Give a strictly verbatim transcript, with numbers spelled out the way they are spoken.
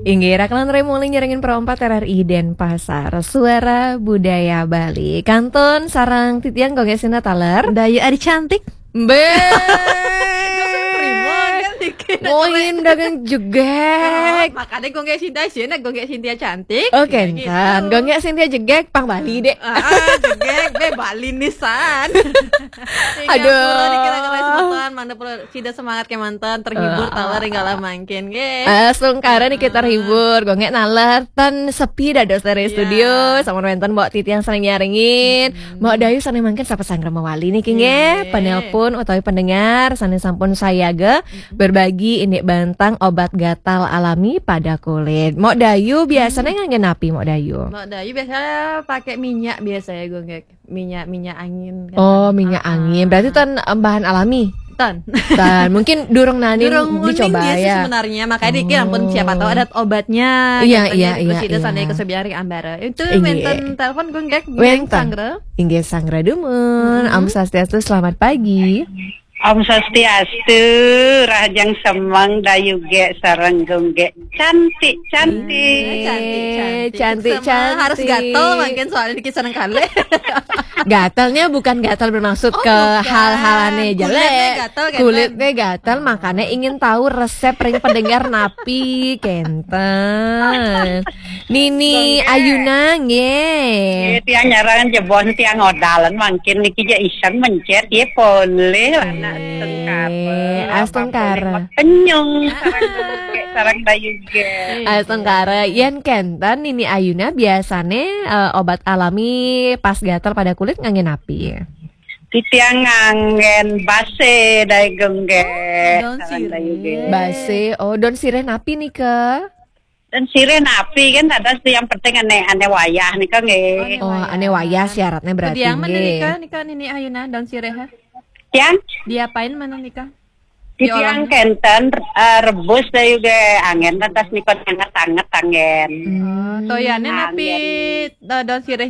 Inggih, Rakalan Remoli nyarengin Pro empat R R I Denpasar, Suara Budaya Bali. Kantun sareng titiang Gonggek Sinta taler. Dayu Ari Cantik. Be. Prima kan dikit. Moin dagang jegek. Oh, makanya Gonggek Sinta sih, nah Gonggek Sinta cantik. Oke, ya gitu. Kan Gonggek Sinta jegek, pang Bali deh. Ah, jegek, be Bali nisan. Aduh. Dikira-kira semeton, mana perlu sida semangat kemanten, terhibur, taler tinggal mangkin, nggih. Astungkara niki terhibur, Gonggek naler tan sepi dados dari studio, sama wenten Mbok Titi yang sering nyarengin. Mbok Dayu sering mangkin sapa sanggra mawali niki, nggih. Penelpon utawi pendengar sane sampun sayaga berbagi indik bantang obat gatal alami pada kulit. Mbok Dayu biasanya ngangge napi, Mbok Dayu? Mbok Dayu biasanya pakai minyak biasa ya, Gonggek. Minyak, minyak angin kan. Oh, minyak angin. Berarti tan, em, bahan alami? Tan. Tan, mungkin durung nani dicoba ya. Durung uning dia sih sebenarnya, makanya dikira ampun siapa tahu ada obatnya. Iya, iya, iya. Terus itu sana kesebiari ambara. Itu wenten telepon Gonggek, wenten sanggra. Inggih sanggra dumun. Om Swastiastu, selamat pagi. Om Swastiastu, rahajeng semeng Dayu Gek sareng Gonggek. Cantik, cantik. Cantik, cantik. Harus gatel mangkin soalnya dikit seneng kali. Gatalnya bukan gatal bermaksud ke hal-hal ane jelek. Kulitnya gatal, makanya ingin tahu resep ring pendengar napi, kenten. Nini Ayuna nggih. Nggih, tiang nyarang jebon tiang odalan mangkin niki ja iseng mencet ya poleh anak astungkara. Astungkara. Kenyung sarang Dayu Gek. Astungkara, yen kenten Nini Ayuna biasane, eh, obat alami pas gatal pada kulit ngangge napi? Titiang nganggen base Dayu Gonggek. Daun sirih. Base, oh, daun sirih napi nika? Daun sirih napi kan ada sih, yang penting ane, ane wayah nika nggih. Oh, ane wayah syaratnya berarti nggih. Nika, nika Nini Ayuna daun sirih, ha? Tiang? Diapain mana nika? Titiang kenten, eh, rebus Dayu Gek, anggen lantas nika anget-anget anggen. Oh, toyane napi, eh, daun sirih